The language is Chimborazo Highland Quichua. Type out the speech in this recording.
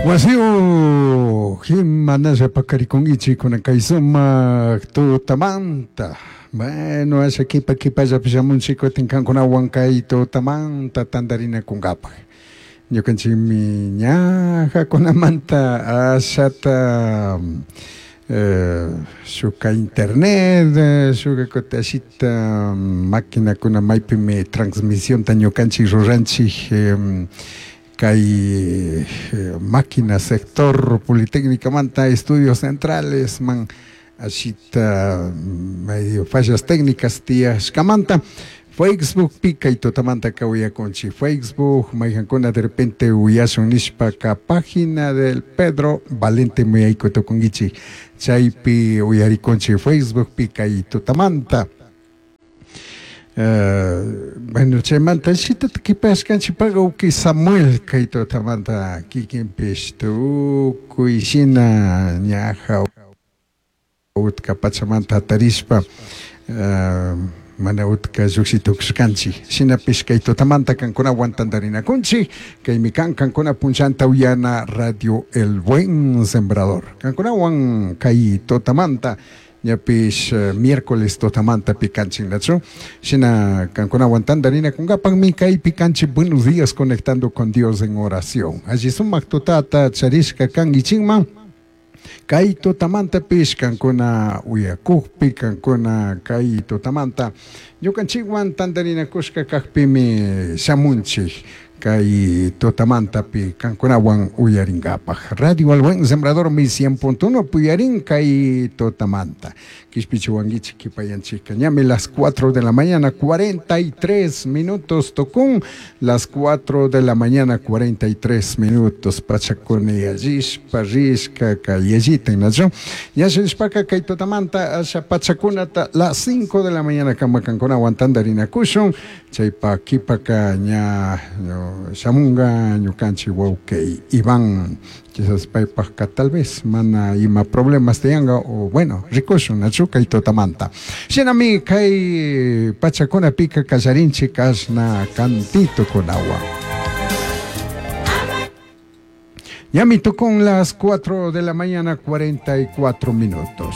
Wasiyuq imanalla paqarikunkichik kunan kay sumaq tutamanta. Bueno, asha kipa kipallapi shamunchik kutin kankunawan kay tutamanta tantarinakunkapaq. Ñukanchikmi ñajakunamanta ashata shuka internet, shuka kutin ashita maquinakuna maypimi transmisionta ñukanchik ruranchik kay máquina sector Politécnicamanta estudios centrales man ashita medio fallas técnicas tiyashkamanta Facebookpi kay tutamanta uyakunchik. Facebook mayqankuna de repente uyashun nishpaka página del Pedro Valente muyayku tukunkichik chaypi uyarikunchik Facebookpi kay tutamanta. Bueno, chaymanta shitata kipashkanchikpaqa uki Samuel kay tutamanta kikinpish tukuy shina ñaja utka pachamanta hatarishpa mana utka lluqshi tukushkanchik shinapish kay tutamanta kankunawan tantarinakunchik kaymi kan kankuna punllanta uyana Radio El Buen Sembrador kankunawan kay tutamanta ñapish miércoles tutamanta pikanchik nachu shina kankunawan tantarinakunkapakmi kaypi kanchik. Buenos días, conectando con Dios en oración. Alli sumak tutata charishka kankichikman kay tutamantapish kankuna uyakukpi, kankuna kay tutamanta ñukanchikwan tantarinakushka kakpimi shamunchik kay tutamantapi kankunawan uyarinkapak. Radio El Buen Sembrador mi 100.1 puyarin kay tutamanta. Kishpichiwankichik kipayanchikka ñami las 4 de la mañana 43 minutos tukun, las 4 de la mañana 43 minutos pachakuna yallishpa rishka kay yallitan nachu ñashishpaka kay tutamanta asha pachakunata las 5 de la mañana kama kankunawan tantarinakushun. Chaypa kipaka ña shamunga ñukanchik wawqi Iván, quizás paypajka tal vez mana ima problemas tiyanka o bueno, rikushun nachu kay tutamanta. Shinami kay pachakunapika kallarinchik kashna cantitukunawan. Ñami tukun las 4 de la mañana 44 minutos.